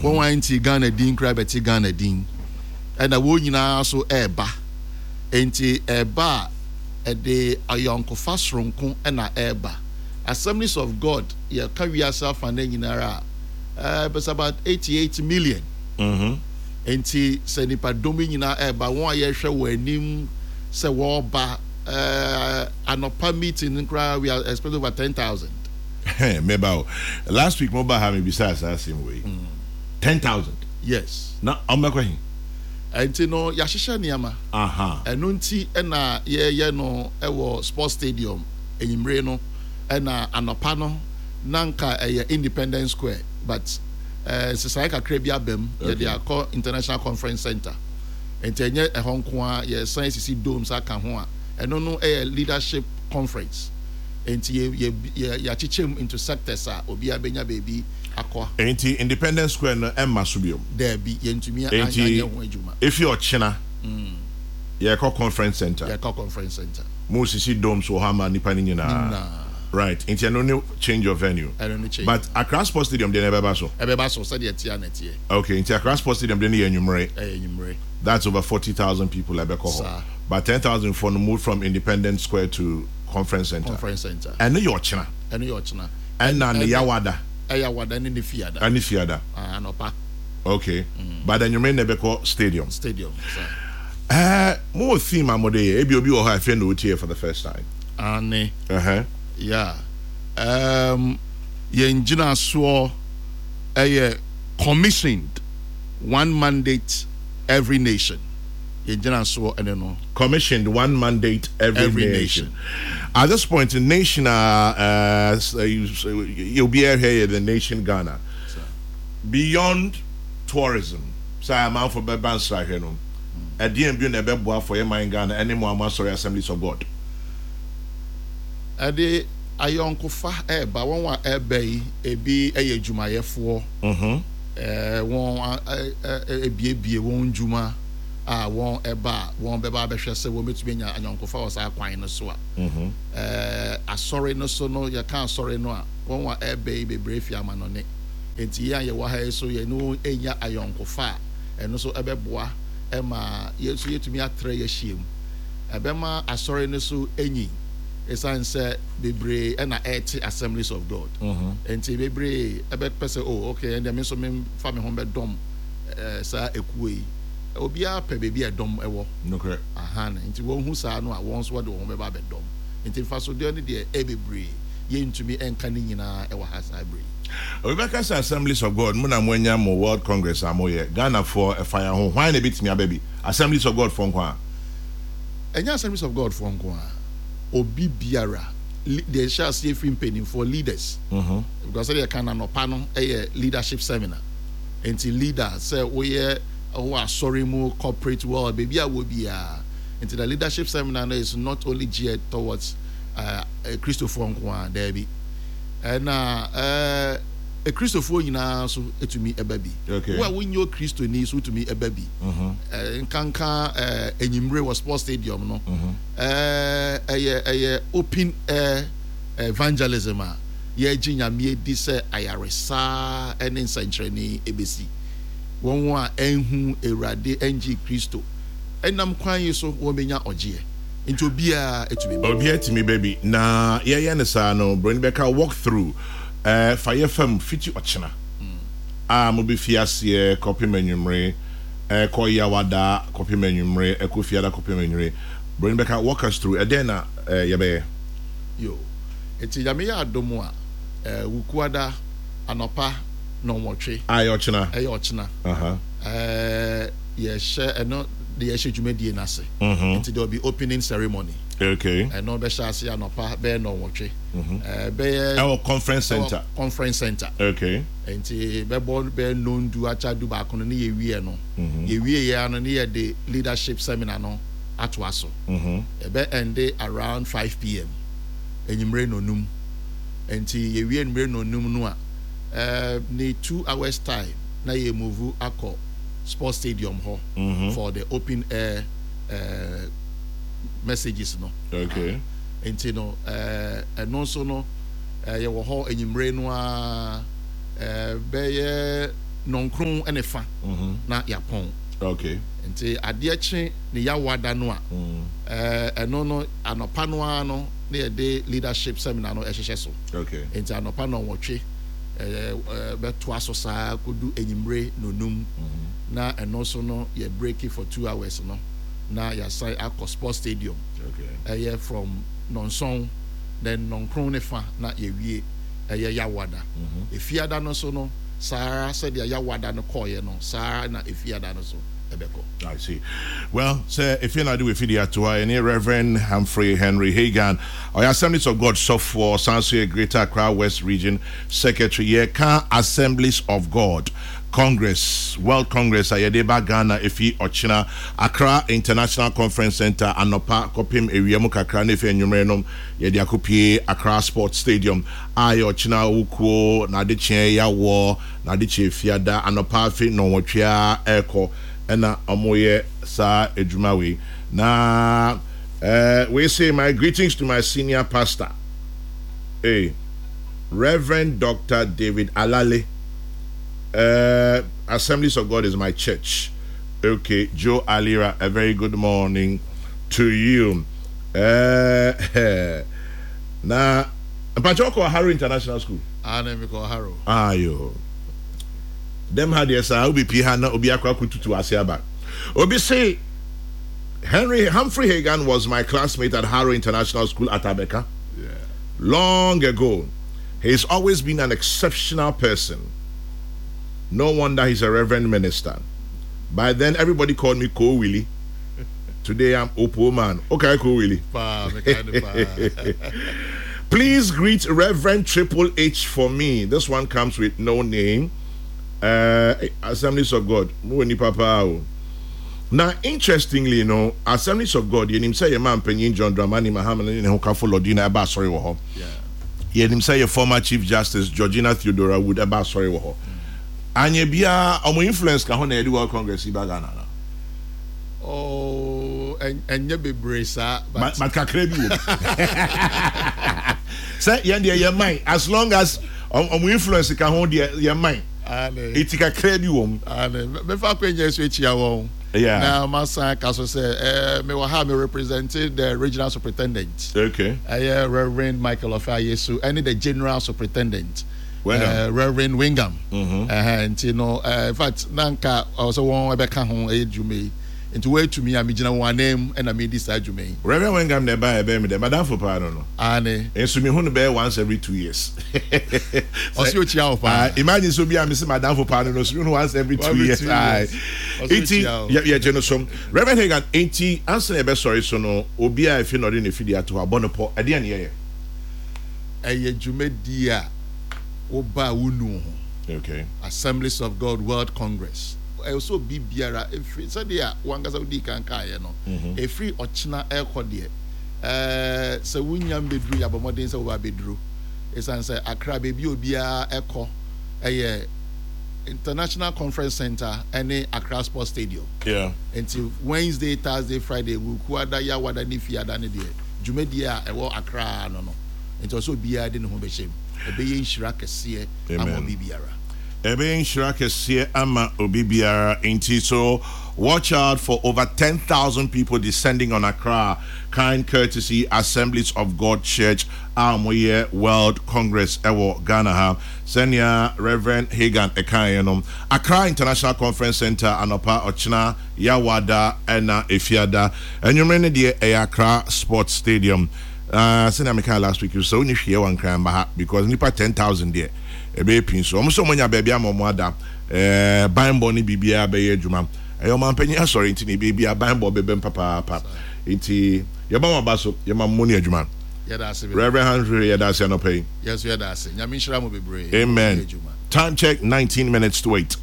Wɔn a nti Ghana din koraa bɛte Ghana din. Ɛna wɔn nyinaa so ɛreba. Enti ɛreba a, ɛde ayɔnkofa soronko na ɛreba. Assemblies of God, yɛka wiase afa no nyinara a, it's about 88 million. Enti sɛ nnipadɔm yi nyinaa ɛreba, wɔn a yɛhwɛ wɔn anim sɛ wɔreba, anɔpa meeting no koraa, we are expecting over 10,000. Meba o. Last week mo ba ha mebisa saa asɛm wei. 10,000? Yes. Na ɔmbɛkɔ he? Ɛnti no yɛahyehyɛ nneɛma. Ɛno nti na yɛyɛ no wɔ sports stadium anwummere no, ɛna anɔpa no na nka ɛyɛ Independence Square, but nsesaeɛ kakra bi aba mu, yɛde akɔ International Conference Center. Nti ɛnyɛ ɛhɔ nko ara, yɛsan asisi domes aka ho a, ɛno no yɛ leadership conference. Nti yɛakyekyɛ mu into sectors a obiara bɛnya baabi akɔ. Enti Independence Square no mma so biom? Daabi, yɛntumi anyɛ ho adwuma. Enti efi ɔkyena yɛkɔ Conference Center? Yɛkɔ Conference Center. Mosisi domes wɔ hɔ ama nnipa no nyinaa? Nyinaa. Right, nti ɛno ne change of venue. Ɛno ne change. But Accra Sports Stadium deɛ no ɛbɛba so? Ɛbɛba so, sɛdeɛ ɛteɛ ara na ɛteɛ. Okay, nti Accra Sports Stadium deɛ no yɛ anwummere? Ɛyɛ anwummere. That's over 40,000 people a ɛbɛkɔ hɔ. Saa. But 10,000 foɔ no moved from Independence Square to Conference Center. Conference Center. Ɛno yɛ ɔkyena? Ɛno yɛ ɔkyena. Ɛna ne Yawada. Ɛyɛ Awada ne ne Fiada. Ɛne Fiada. Ah, anɔpa. Okay. But anwummere na ɛbɛkɔ stadium. Stadium, saa. Eh, mo wɔ theme a mode yɛ? Ebi obi wɔ hɔ a afei na otie for the first time. Aane. Uh-huh. Yeah. Um, yɛn gyinasoɔ ɛyɛ commissioned one mandate every nation. Yɛn gyinasoɔ ɛne no. Commissioned one mandate every, every nation. nation. At this point, nation you'll be here the nation Ghana. Beyond tourism, sɛ amanfo bɛba nsrahwɛ no, ɛdeɛn bio na ɛbɛboa for yɛ man Ghana ɛne mo a mo asɔre Assemblies of God? Ɛde ayɔnkofa ɛɛba, wɔn a ɛɛba yi ebi ɛyɛ adwumayɛfoɔ, wɔn ɛbiebie wɔn ndwuma a wɔn ɛba a wɔn bɛba abɛhwɛ sɛ wɔn bɛtumi anya ayɔnkofa wɔ saa kwan no so a. Asɔre no so no, yɛka asɔre no a, wɔn a ɛɛba yi bebree fi amanɔne. Enti yɛn a yɛwɔ ha yi nso, yɛne wɔn renya ayɔnkofa a ɛno nso bɛboa ma yɛn nso yɛatumi atra yɛn ahyiam. Ɛbɛma asɔre no so anyin esiane sɛ bebree na ɛrete Assemblies of God. Enti bebree bɛpɛ sɛ, oh, okay, ɛndeɛ me nso memfa me ho bɛdɔm saa ekuo yi. Obiara pɛ baabi a ɛdɔm wɔ. Nokorɛ. Ahan, nti wɔhu saa no a, wɔn nso wɔde wɔn ho bɛba abɛdɔm. Nti mfasodeɛ no deɛ ɛyɛ bebree, yɛntumi nka ne nyinaa wɔ ha saa berɛ yi. Obi bɛka sɛ Assemblies of God mo na mo anya mo world congress a mo yɛ, Ghana foɔ ɛfa yɛn ho, hwan na ɛbɛtumi aba bi? Assemblies of God foɔ nko ara? Ɛnyɛ Assemblies of God foɔ nko ara, obi biara, deɛ ɛhyɛ aseɛ firi mpaninfoɔ, leaders, because sɛdeɛ yɛka no anɔpa no yɛ leadership seminar, nti leader sɛ woyɛ wowɔ asɔre mu, corporate world, baabi a wɔ biara, nti the leadership seminar no is not only geared towards Kristofoɔ nko ara, daabi. Ɛna ɛɛ Akristofoɔ nyinaa nso tumi ba bi. Okay. Wo a wonyɛ Okristoni nso tumi ba bi. Mm-hmm. Nkanka ɛɛ enyimire wɔ sports stadium no. Mm-hmm. Ɛɛ ɛyɛ ɛyɛ open air evangelism a yɛgye Nyame adi sɛ ayaresa ne nsɛnkyerɛnne ebesi. Wɔn a ɛnhu Awurade ɛngye Kristo ɛnam kwan yi so wɔn bɛnya ɔgyeɛ. Nti obiara tumi ba. Obiara tumi ba bi. Na yɛyɛ no saa no, broni bɛka walk through, eh, fa yɛ fam fiti ɔkyena a mobɛfi aseɛ kɔpem anwummere, ɛkɔ Yawada kɔpem anwummere, ɛkɔ Fiada kɔpem anwummere. Broni bɛka walk us through, ɛdɛn na eh, yɛbɛyɛ? Yo, nti Nyame yɛ adom a, eh, Wukuada anɔpa nnɔnwɔtwe. A ɛyɛ ɔkyena. Ɛyɛ ɔkyena. Aha. Eh, yɛhyɛ ɛno de yɛhyɛ dwumadie no ase. Mm-hmm. Nti there will be opening ceremony. Okay. Ɛno bɛhyɛ ase anɔpa bɛyɛ nnɔnwɔtwe. Mm-hmm. Eh, bɛyɛ. Ɛwɔ conference center. Ɛwɔ conference center. Okay. Nti bɛbɔ bɛyɛ nnɔndu akyɛ du baako no ne yɛwie no. Mm-hmm. Yɛwie yɛ ano ne yɛde leadership seminar no atoa so. Mm-hmm. Ɛbɛ ɛnde around 5 pm. Enyimire nnɔnum. Nti yɛwie enyimire nnɔnum no a, eh, ne 2 hours time na yɛ move akɔ sports stadium hɔ for the open air messages no. Okay. Nti no ɛno nso no yɛwɔ hɔ enyimire no ara bɛyɛ nnɔnkron ne fa na yɛapɔn. Okay. Nti adeɛ kye ne Yawoada no a, ɛno no anɔpa no ara no na yɛde leadership seminar no hyehyɛ so. Okay. Nti anɔpa nnɔnwɔtwe bɛtoa so saa kɔdu anwummere nnɔnum na ɛno nso no yɛ breaki for 2 hours no na yɛasan akɔ sports stadium. Ɛyɛ from nnɔnson, then nnɔnkron ne fa na yɛwie ɛyɛ Yawoada. Efiada no nso no saa ara sɛdeɛ Yawoada no kɔeɛ no saa ara na Efiada no nso ɛbɛkɔ. I see. Well, sɛ efie na ade wɔ efidie ato ha, yɛne Reverend Humphrey Henry Hagan, ɔyɛ Assemblies of God sɔfoɔ, ɔsan nso yɛ Greater Accra West Region Secretary. Yɛreka Assemblies of God Congress, World Congress a yɛde ba Ghana efi ɔkyena, Accra International Conference Centre anɔpa kɔpem awia mu kakra na efi anwummere no yɛde akɔpue Accra Sports Stadium a ɛyɛ ɔkyena Awukuo, n'adekyeɛ Yawɔ, n'adekyeɛ Fiada anɔpa afe nnɔnwɔtwe ara ɛrekɔ ɛna wɔyɛ saa adwuma wei. Na eh, wei se my greetings to my senior pastor, eh, Reverend Doctor David Alale, eh, Assemblies of God is my church. Okay, Joe Alira, a very good morning to you. Eh, na mpakyɛ wokɔ Harrow International School? Ah, na mekɔ Harrow. Ayo. Dɛm ha deɛ saa wobɛpie ha na obi akɔ akɔtutu ase aba. Obi se Henry Humphrey Hagan was my classmate at Harrow International School at Abeka. Long ago. He's always been an exceptional person. No wonder he's a reverend minister. By then, everybody called me Ko Willie. Today, I'm Opo Man. Okay, Ko Willie. Please greet Reverend Triple H for me. This one comes with no name. Assemblies of God. Mo nipa paa o. Na interestingly no, Assemblies of God, yɛnim sɛ yɛn mampanyin John Dramani Mahama ne ne hokafo Lordina ɛba asɔre wɔ hɔ. Yɛnim sɛ yɛ former Chief Justice Georgina Theodora Wood ɛba asɔre wɔ hɔ. Anyɛ biara, ɔmo influence ka ho na yɛde World Congress yi ba Ghana no. Oh, ɛnyɛ bebree saa. But kakra bi wɔ mu. Sɛ yɛn deɛ yɛn man, as long as ɔmo influence ka ho deɛ yɛn man. Eti kakra bi wɔ mu. Mefa akɔnya so akyia wɔn. Yeah. Na masan ka so sɛ eh, mewɔ ha me represent the regional superintendent. Okay. Ɛyɛ Reverend Michael Ofayesu ɛne the general superintendent. Reverend Wingham. Mm-hmm. Nti no, in fact, na nka ɔwɔ sɛ wɔn ɛbɛka ho ɛyɛ dwuma yi. Nti wɔatumi a megyina wɔn anan mu ɛna medi saa dwuma yi. Reverend Wingham na ɛbaa ɛbɛn mi dɛ, madamfo paa no no. Aane. Nso mehu no bɛyɛ once every 2 years. Ɔsi okyia wo paa. Imagine sɛ obi a mese madamfo paa no no, so mehu no once every 2 years. Nti yɛgye no so. Reverend Hagan, nti ansa na yɛbɛsɔre so no, obi a efi na ɔde ne fidie ato hɔ abɔ no pɔ, ɛdeɛn na yɛyɛ? Ɛyɛ dwumadie a woba a wonu ho. Okay. Assemblies of God World Congress. Ɛwɔ sɛ obi biara ɛfiri sɛdeɛ wankasa wodii kan kaeɛ no, ɛfiri ɔkyena ɛrekɔ deɛ, ɛɛ sɛ wonya mbɛduru yɛabɔ mmɔden sɛ woba abɛduru. Ɛsiane sɛ Accra baabi a obiara ɛkɔ ɛyɛ International Conference Center ɛne Accra Sports Stadium. Yeah. Nti Wednesday, Thursday, Friday, Wukuada, Yawada ne Fiada ne deɛ dwumadie a ɛwɔ Accra no no. Nti ɔsɛ obiara de ne ho bɛhyɛ mu. Ɛbɛyɛ nhyira kɛseɛ ama obi biara. Ɛbɛyɛ nhyira kɛseɛ ama obi biara. Nti so watch out for over 10,000 people descending on Accra. Kind courtesy Assemblies of God Church a wɔyɛ World Congress ɛwɔ Ghana ha. Sɛnea Reverend Hagan ɛkaeɛ no, Accra International Conference Center anɔpa ɔkyena Yawada ɛna Efiada. Anwummere no deɛ ɛyɛ Accra Sports Stadium. Sɛnea mekaa last week sɛ wonni hwee wɔ Nkran mma ha because nnipa 10,000 deɛ ɛbɛyɛ pii nso. Wɔn sɛ wɔanya baabi ama wɔn ada, banbɔ ne biribiara bɛyɛ adwuma. Ɛyɛ ɔmanpanyin asɔre nti na ɛbɛyɛ biara banbɔ bɛbam papaapa. Nti yɛma mo aba so, yɛma mo ne adwuma. Yɛda ase bebree. Reverend Humphrey yɛda ase anɔpa yi. Yɛn nso yɛda ase. Nyame nhyira mo bebree. Amen. Time check 19 minutes to 8.